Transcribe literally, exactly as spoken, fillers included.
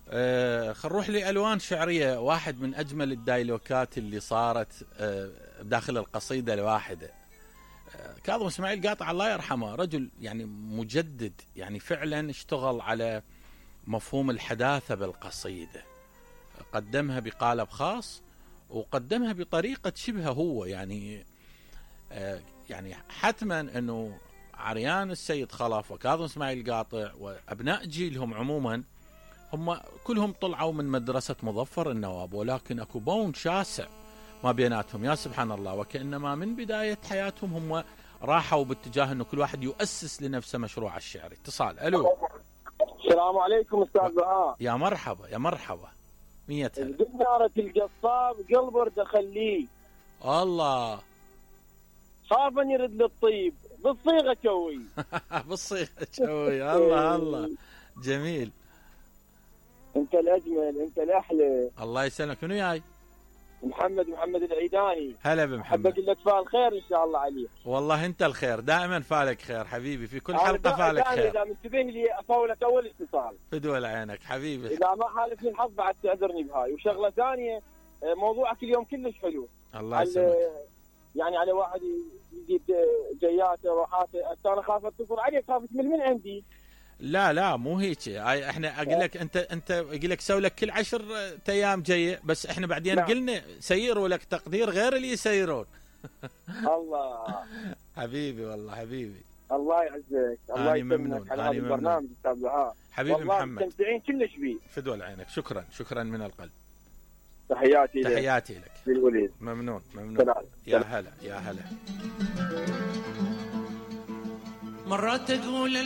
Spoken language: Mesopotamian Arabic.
آه خل نروح لألوان شعرية. واحد من أجمل الدايلوكات اللي صارت آه داخل القصيدة الواحدة. آه كاظم اسماعيل قاطع الله يرحمه رجل يعني مجدد، يعني فعلا اشتغل على مفهوم الحداثة بالقصيدة، قدمها بقالب خاص وقدمها بطريقة شبه هو يعني آه يعني حتما أنه عريان السيد خلف وكاظم اسماعيل قاطع وأبناء جيلهم عموما هم كلهم طلعوا من مدرسة مظفر النواب، ولكن اكو بون شاسع ما بيناتهم يا سبحان الله، وكأنما من بداية حياتهم هم راحوا باتجاه انه كل واحد يؤسس لنفسه مشروع الشعري. اتصال. الو. السلام عليكم استاذ بهاء. يا مرحبا يا مرحبا. مية هلا. قنارة القصاب قلب ورد خليه. الله. خاف ان يرد للطيب بالصيغة شوي. بالصيغة شوي. الله الله. جميل. انت الاجمل، انت الاحلى. الله يسلمك. منو جاي؟ محمد محمد العيداني. هلا بمحمد. حبك لك فال خير ان شاء الله عليك. والله انت الخير، دائما فالك خير حبيبي، في كل حلقه فالك خير. اذا منتبه لي افولك اول اتصال. فدول عينك حبيبي. اذا ما حالفني الحظ بعد تعذرني بهاي. وشغله ثانيه، موضوعك اليوم كلش حلو. الله يسلمك. يعني على واحد يجيب جياته وراحاته، انا خاف اتصل عليك، خاف تمل من عندي. لا لا مو هيك، احنا اقول لك انت انت اقول لك سوي لك كل عشر ايام جايه، بس احنا بعدين نعم. قلنا سيروا لك تقدير غير اللي يسيرون. الله حبيبي والله حبيبي. الله يعزك. الله يسلمك على هذا البرنامج استاذ بهاء. حبيبي محمد مستمتعين كلش بيه. فدول عينك. شكرا شكرا من القلب. تحياتي لك. تحياتي لك للوليد. ممنون ممنون. سلام. يا هلا يا هلا. مرات اقول